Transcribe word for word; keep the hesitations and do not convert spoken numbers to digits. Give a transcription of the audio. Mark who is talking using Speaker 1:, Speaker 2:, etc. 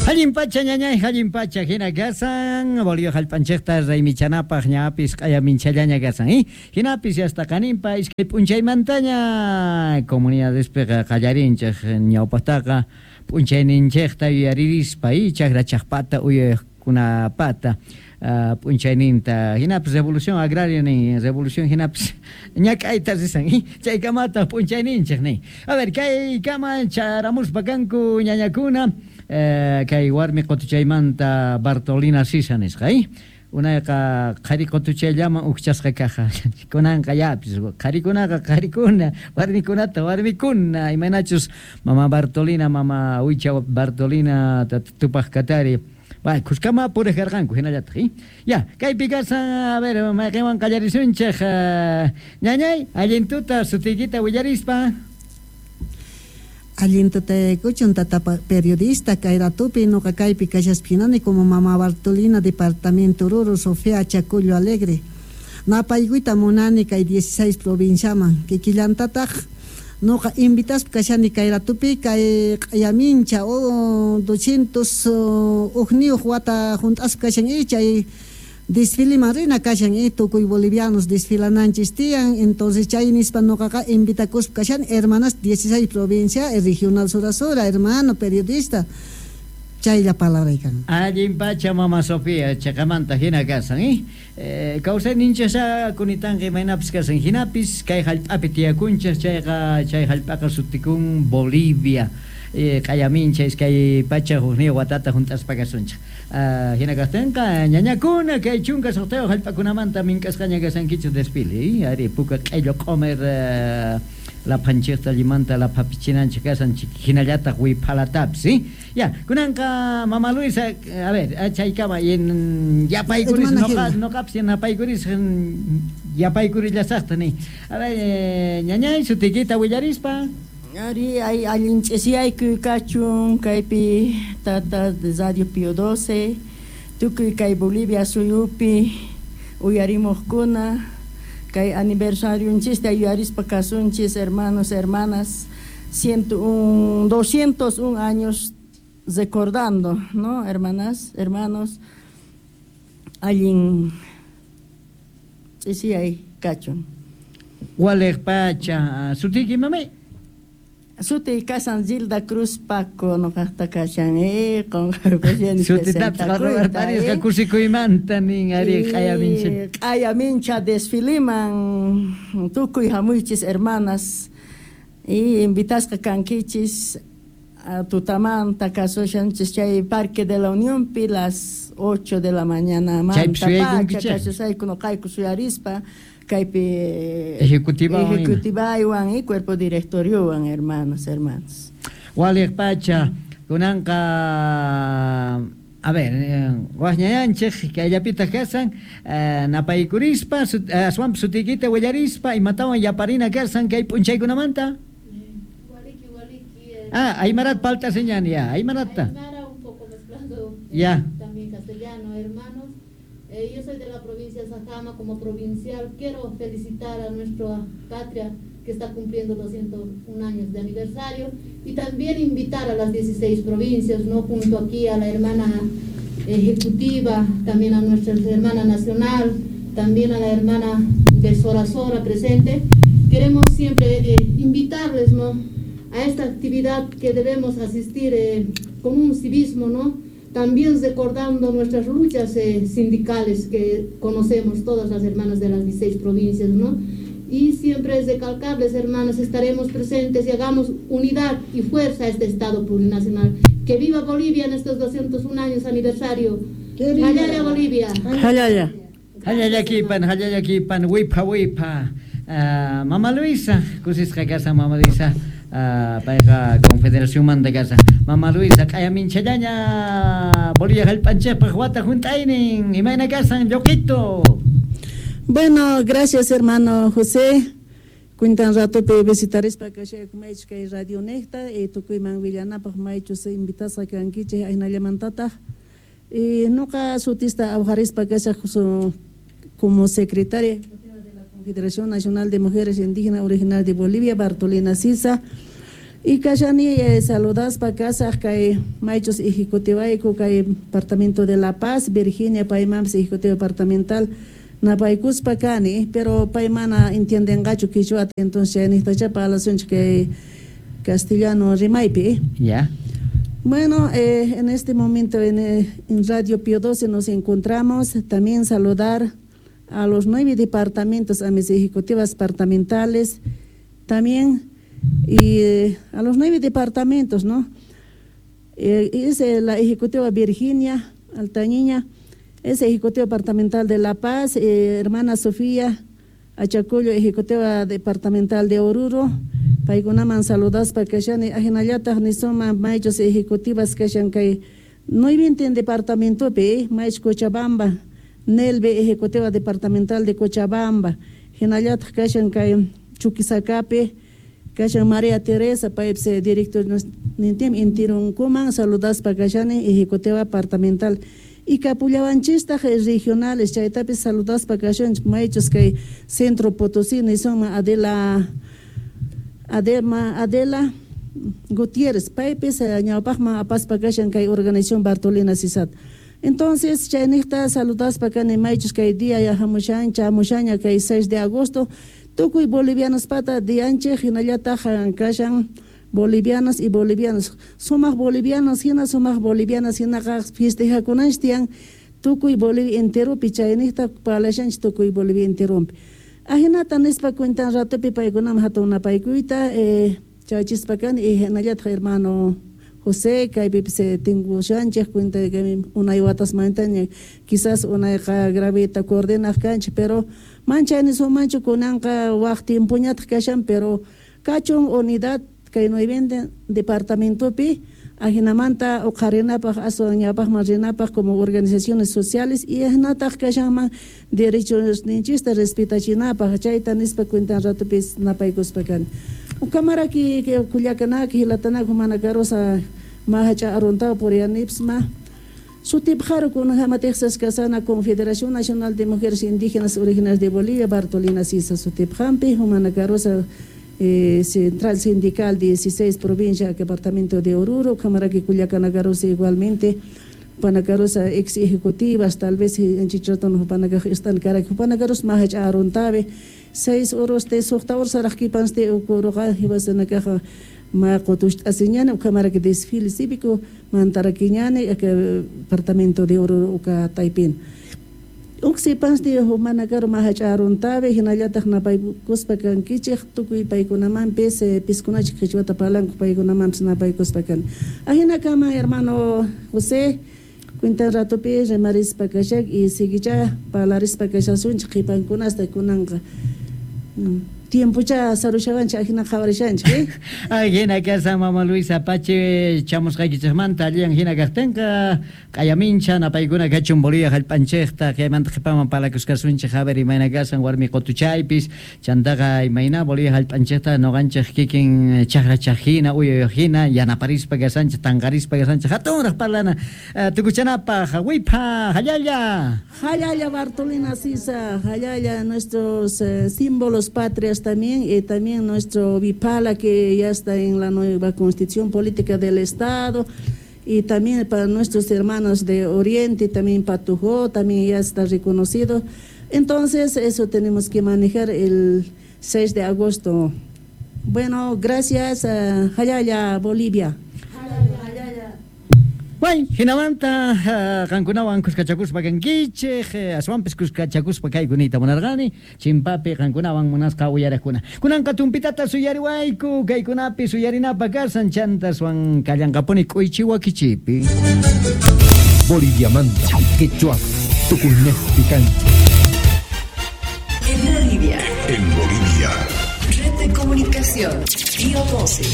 Speaker 1: Allin pacha ñañay, allin pacha hina kasan, Bolivia hallp'anchikta raymichanapaq ñapis q'ayaminchallaña kasan, eh? Hinapis hasta qaninpa iskay p'unchaymantaña comunidadespiqa qallarinchik ñawpaqtaqa p'unchayninchikta yuyaririspa, eh? Chakra chaqpata uyaykunapata uh, p'unchayninta hinapis revolución agraria nin revolución hinapis ñak'ayta risan, eh? Chaykamata p'unchayninchik nin. A ver, kaykama charamuspa kanku ñañakuna. Eh, kay warmi qutuchaymanta Bartolina Sisa nisqa, eh? Unayqa qhari qutuchayllaman ukchasqa kaja kunanqa yapis qharikunaqa qharikuna warmikunata warmikuna imaynachus mama Bartolina mama Huicha Bartolina tupaq katari Bay, kuskama puriq karqanku hinallataq, eh? Ya, kaypi kasan, a ver, mayqinwan qallarisunchik, uh, ñañay, allin tuta sutiykita willarispa.
Speaker 2: Allin tutaykuchun tata periodista kay ratupi nuqa kaypi kashaspi como mama Bartolina departamento Oruro Sofía Chacullo Alegre napaykuyta munani kay dieciséis provinciaman kikillantataq nuqa invitaspa kashani kay ratupi kay q'ayamincha o doscientos ujniyuq wata junt'aspa kashan y chay desfiliman rina kashan y tukuy bolivianos desfilananchis tiyan entonces chay nispa nuqaqa invitakuspa kashan hermanas dieciséis provincia el regional Sora Sora hermano periodista chaylla palabraykan.
Speaker 1: Allin pacha mama Sofía chaqamanta hina kasan, eh? Eh, kawsayninchasha kunitanqa imaynapis kasan hinapis kay hallp'api tiyakunchis chayqa chay hallp'aqa sutikun Bolivia. Eh, q'ayamincha iskay pacha hukniyuq watata hunt'aspa kasunchik. Uh, hina kaqtinqa ñañakuna kay chunka suqtayuq hallp'akunamanta mink'asqaña kasankichik desfile, eh? Ari puka q'illu q'umir uh, laphanchikta llimanta laphapichinanchik kasanchik hinallataq wiphalatapis, eh? Ya, kunanqa mama Luisa, a ver, chaykama yapaykuris noqa noqapis yanapaykuris yapaykurillasaqta ni. A ver, eh, ñañay sutiykita willarispa.
Speaker 3: Ari ay allin ch'isiyaykuy kachun kaypi tata de Radio Pío doce tukuy kay Bolivia suyupi uyarimuqkuna kay aniversarionchista yuyarispa kasunchis hermanos hermanas ciento un doscientos un años recordando, ¿no? Hermanas, hermanos, allin ch'isiyay kachun.
Speaker 1: Waliq pacha sutiyki mamay.
Speaker 3: Suti kasan Gilda Cruz Paco noqaqta kashan eh qonqarpashani
Speaker 1: sutitapis qarwarparisqa kusikuymanta nin ari q'ayamincha
Speaker 3: q'ayamincha desfiliman tukuy hamuychis hermanas y invitasqa kankichis tutamanta kasushanchis chay Parque de la Unión pi las ocho de la mañana manta pacha kashasayku noqayku suyarispa kaypi
Speaker 1: ejecutiva
Speaker 3: ejecutivaywan y cuerpo directoriowan hermanos hermanos.
Speaker 1: Waliq pacha kunanqa a ver waqñayanchik kayllapitaq kasan eh, napaykurispa aswanpas sutiykita willarispa imatawan yaparina kasan kay p'unchaykunamanta.
Speaker 4: Waliki waliki eh,
Speaker 1: ah Aymarat palta señan ya Aymarata
Speaker 4: Aymara un poco mezclando
Speaker 1: ya
Speaker 4: también castellano hermanos. Eh, yo soy de la provincia de Sajama, como provincial quiero felicitar a nuestra patria que está cumpliendo doscientos un años de aniversario y también invitar a las dieciséis provincias, ¿no? Junto aquí a la hermana ejecutiva, también a nuestra hermana nacional, también a la hermana de Sora Sora presente. Queremos siempre eh, invitarles, ¿no? A esta actividad que debemos asistir eh, con un civismo, ¿no? También recordando nuestras luchas eh, sindicales que conocemos todas las hermanas de las dieciséis provincias, ¿no? Y siempre es recalcarles, hermanas, estaremos presentes y hagamos unidad y fuerza a este Estado plurinacional. ¡Que viva Bolivia en estos doscientos un años aniversario! ¡Jallalla Bolivia!
Speaker 3: ¡Jallalla!
Speaker 1: ¡Jallallakipan, jallallakipan, wipa, wipa! Uh, Mama Luisa, kusisqa kasa Mama Luisa. Uh, payqa Confederación manta kasa Mama Luisa q'ayaminchallaña Bolivia hallp'anchikpaq wata hunt'aynin imayna kasan lluqito.
Speaker 5: Bueno, gracias hermano José. Cuentan ratopi visitarispa kashayku maychus kay radio niqta y tukuyman willanapaq maychus invitasqa kankichik aynallamantataq y nuqa sutista awqarispa kashaq como secretaria de la Confederación Nacional de Mujeres Indígenas Original de Bolivia, Bartolina Sisa. Y kashani eh, saludaspa kasaj kay maychus ejecutiwayku kay departamento de La Paz, Virginia paymanpis ejecutivo departamental napaykuspa kani, pero pay mana entiendenqachu quichuata, entonces chaynijtacha parlasunchik kay castellano rimaypi.
Speaker 1: Ya.
Speaker 5: Bueno, eh, en este momento en, en Radio Pío doce nos encontramos, también saludar a los nueve departamentos, a mis ejecutivas departamentales, también y eh, a los nueve departamentos, ¿no? Eh, es eh, la ejecutiva Virginia Altañiña, es ejecutiva departamental de La Paz, eh, hermana Sofía Achacollo, ejecutiva departamental de Oruro, paykunaman saludaspa kashani, ajinallataq nisuma maychus ejecutivas kashan kay nuevintin departamentopi, maychus Cochabamba, Nelve, ejecutiva departamental de Cochabamba, hinallataq kashan kay Chuquisacapi, kashan María Teresa, paypis director nintim intirunkuman saludaspa kashani ejecutiva departamental. Y kapullawanchistaq regionales, chaytapis saludaspa kashanchik maychus kay Centro Potosí nisuma Adela Adema Adela Gutiérrez, paypis ñawpaqman apaspa kashan kay organización Bartolina Sisat. Entonces chayniqta saludaspa kani maychus kay día yahamushan chamushaña kay seis de agosto tukuy bolivianos pata dianchik hinallataq kashan bolivianos y bolivianos sumaq bolivianos hina sumaq bolivianas hinaqa festejakunanchik tiyan tukuy Bolivia enteropi chayniqta parlashanchik tukuy Bolivia enteropi. Ajinata nispa cuentan ratopi paykunaman hatun napaykuyta eh, chaychispa kani y hinallataq hermano José kaypipis tinkushanchik cuenta que unay watasmantaña quizás unayqa gravita coordinaq kanchik pero manchay nisumanchu kunanqa waq tiempoñataq kashan pero kachun unidad kay nueve departamentopi ajinamanta uqharinapaq aswan ñawpaqman rinapaq como organizaciones sociales y ajinataq kashanman derechos ninchista respetachinapaq chayta nispa cuentan ratopis napaykuspa kani. Ukamaraki kullakanaki hilatanaki manakarosa mahacha aruntaw purianipsma sutipqaru kunajama Texas kasana Confederación Nacional de Mujeres Indígenas Originarias de Bolivia Bartolina Sisa sutipqampi humanakarosa Eh, Central Sindical dieciséis provincia departamento de Oruro, Camaraki Culiacanagarosa igualmente, Panacarosa ex ejecutivas, tal vez en Chichotón, Panacaj están Carac, Panacaros Mahach Aruntabe, seis oros de Soctaor Saraquipans de Ucoroja, Ibasanakaja, Macotush Asiñana, Camaraki desfile cívico, Mantaraquiñane, departamento de Oruro, Uca Taipín. Uksipans de humanakaro mahacharuntabe hinallataq napaykuspa kankichik tukuy paykunamanpis piskunachik qichwata parlanku paykunamanpis napaykuspa kan. Ajinakama hermano José cuenta ratopi rimarispa kashak y siguicha parlarispa kashasunchik qipankunasta kunanqa. Tiempocha sarushawanchik ajina qhawarishanchik.
Speaker 1: Ajina kasa mama Luisa Pache chamusqaykichikmanta alliyan hina kaqtinqa q'ayamincha napaykuna kachun Bolivia hallp'anchikta chaymanta qhipaman parlakuskasunchik a ver imayna kasan warmi qutuchaypis chantaqa imayna Bolivia hallp'anchikta nuqanchik kikin chaqrachaq hina uyayuq hina yanaparispa kasanchik tanqarispa kasanchik hatunraq parlana tukuchanapaq wipha hallalla
Speaker 5: Hallalla Bartolina Sisa hallalla nuestros eh, símbolos patrias también y también nuestro Vipala que ya está en la nueva Constitución Política del Estado y también para nuestros hermanos de Oriente, también Patujó, también ya está reconocido. Entonces eso tenemos que manejar el seis de agosto. Bueno, gracias a Jayaya, Bolivia.
Speaker 1: Bueno, hinamanta qankunawan kuskachakuspa kankichik, aswanpis kuskachakuspa kaykunita munarqani, chimpapi qankunawan munasqa uyaraqkuna. Kunanqa tumpitata suyariwayku, kaykunapi suyarinapa kasan chantaswan kallanqapuni k'uychi wakichipi.
Speaker 6: Boliviamanta, quechua, tukuynejpi kanchik.
Speaker 7: En Bolivia.
Speaker 8: En Bolivia.
Speaker 7: Red de Comunicación, Pío doce.